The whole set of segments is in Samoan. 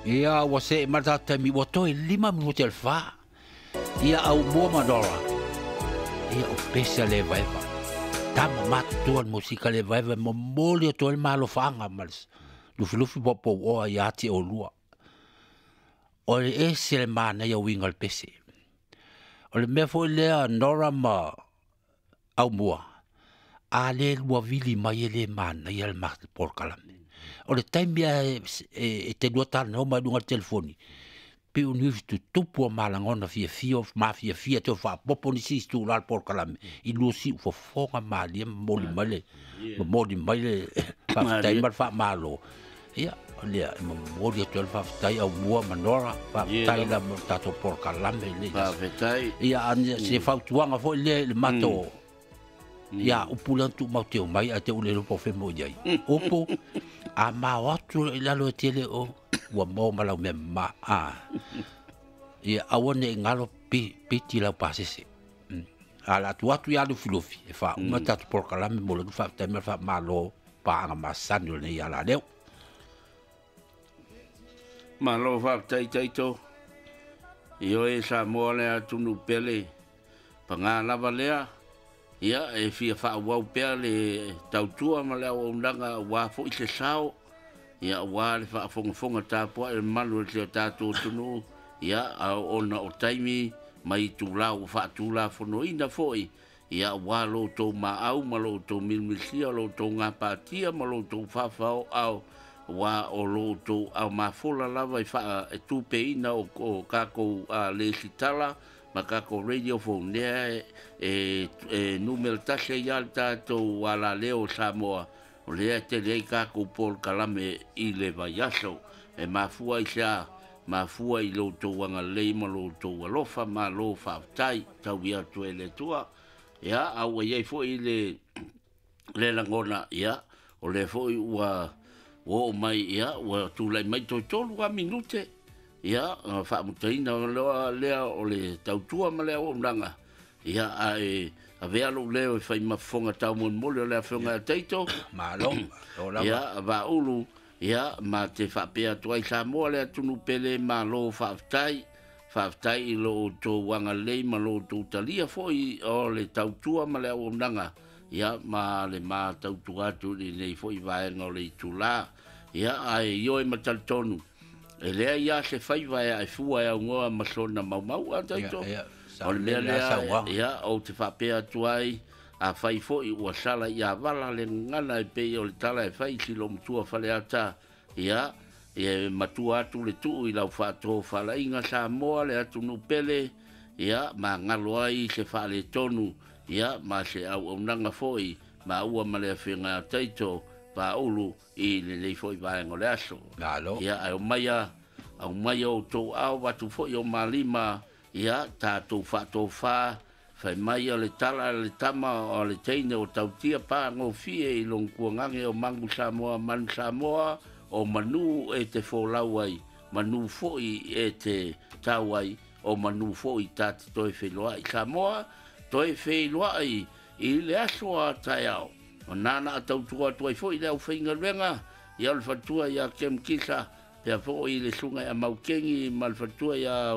Ia ua see ma le tatou taimi ua toe 5 minute o le 4. Ia Aumua ma Nora. Ia o pese a le evaeva. Tama matutua le musika le evaeva e momoli atu ai le malofaaga ma le lufilufi poupouoa ia te oulua. O le ese le manaia uiga o le pese. O le mea foi lea Nora ma Aumua, a le lua vili mai e le manaia le polokalame. O le taimi e te lua talanoa mai luga o le telefoni, piu ni tutupu o malagona fiafia, mafiafia te faapopo nisi i tula le polokalame, i lua siu fofoga malie momoli mai le momoli mai le faafetai ma le faamalo. Ia, o lea e momoli atu ai le faafetai Aumua ma Nora, faafetai la mo le tatou polokalame i lenei aso. Faafetai. Ia, se fautuaga foi lea i le matou ia upu lea na tuumau teu mai ae te ule iloa po o fea mo i ai. Upu, a mao atu i lalo e tele o ua maua ma lau mea mama. Ia, aua ne i galo piti lau pasese. A la atu atu ia Lufilufi, e faauma tatou polokalame mo le faafetai ma le faamalo paaga masani o lenei ala leo. Malo faafetai Taito. Ioe Samoa le atunuu pele, paga lava lea. Ia, e fia faaauau pea le tautua ma le auaunaga aua foi se sao. Ia, aua le faafogafoga tapuai le mamalu o si o tatou atunuu. Ia, ona o taimi mai itula ua faatulafonoina foi. Ia, aua lo outou maau ma lo outou milimilisia, lo outou gapatia ma lo outou faafaoao, aua o lo outou aumafola lava e tupeina o kakou lesitala ma kakou radio phone lea e numera 1 ai le tatou alaleo o Samoa, o lea e tele ai kakou polokalame i le vaiaso. E mafua i se a, mafua i lo outou agalelei ma lo outou alofa, malo faafetai tau ia atu e le Atua. Ia, a ua iai foi le lagona, ia, o lea foi ua oo mai, ia, ua tulai mai toe 3 minute. Ia, faamutaina loa lea o le tautua ma le auaunaga. Ia, ae avea lou leo e fai ma fofoga taumolimoli o le afioga ia Taito. Malo, malo lava. Ia, Vaaulu, ia, ma te faapea atu ai Samoa le atunuu pele, malo faafetai. Faafetai i lo outou agalelei ma lo outou talia foi o le tautua ma le auaunaga. Ia, ma le matautua atu i lenei foi vaega o le itula. Ia, ae ioe ma talitonu, e leai lava se faiva e aefua e augoa ma sona maumau a Taito. O le mea lea, ia, ou te faapea atu ai, a fai foi ua sala ia vala le gagana e pei o le tala e fai si lo matua Faleata. Ia, e matua atu le tuu i lau faatofalaiga Samoa le atunuu pele. Ia, ma galo ai se faaletonu, ia, ma se auaunaga foi, ma ua ma le afioga ia Taito Vaaulu i lenei foi vaega o le aso. Malo. Ia, ae aumai outou ao atu foi o malima, ia, tatou faatofa, fai mai o le tala le tama o le teine o tautia pagofie i lona tuagage o Magu Samoa, Manu Samoa, o manu e te folau ai, manu foi e te tau ai, o manu foi ta te toe feiloai. Samoa, toe feiloai i le aso a taeao. O nana a tautua atu ai foi le aufaigaluega, ia o le faletua ia Kem Kisa, pea foi le susuga ia Maukengi ma le faletua ia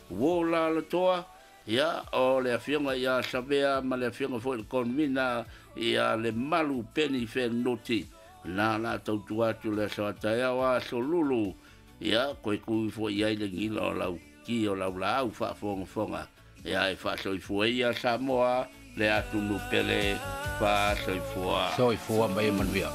Wola Latoa, ia, o le afioga ia Savea ma le afioga foi le Convena ia le Malu Peni Fenoti. Nana a tautua atu le aso a taeao a aso lulu, ia, koe kui foi ai le gila o lau ki o lau laau faafogafoga. Ia, e faasoifua ia Samoa le atunuu pele, faasoifua. Soifua ma ia manuia.